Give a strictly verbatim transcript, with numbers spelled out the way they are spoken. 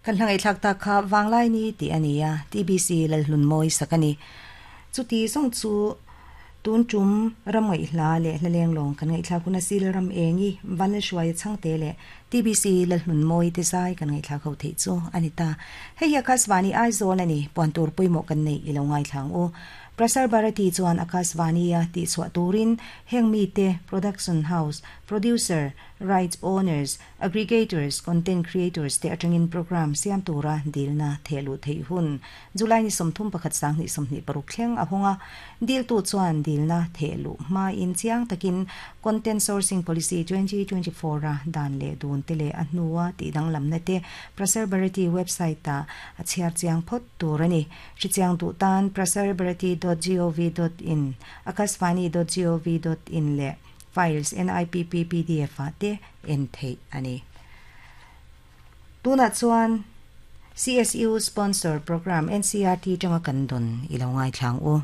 Kan hla ngaihthlak tak kha Vanglai ni tih a ni a, T B C Lalhlunmawii sak a ni. Chuti zawng chu tun tum ram ngaihhla leh hla lenglawng kan ngaihthlak hun a sil ram engi Vanlalhruaia Chhangte leh T B C Lalhlunmawii te zai kan ngaihthlak ho theih chu a ni ta. Hei hi Akashvani Aizawl a ni, puan tur pawimawh kan neih i lo ngaithlang u. Prasar Bharati chuan Akashvani-a tihchhuah turin heng mite production house, producer, rights owners, aggregators, content creators te atangin program siam tura dilna thehluh theih hun July ni sawmthum pakhat sanghnih sawmhnih paruk thleng a hawng a. Diltu chuan dilna thehluh hmain chiang takin Content Sourcing Policy twenty twenty four a dan leh dun te leh a hnua tih danglamna te Prasar Bharati website ah a chhiar chiang phawt tur a ni. Hrichiang duh tan prasarbharati dot gov dot in, akashvani dot gov dot in leh Files N I P P P D F ah te en theih a ni. Tunah chuan C S U sponsor program N C R T tanga kan dawn i lo ngaithlang u.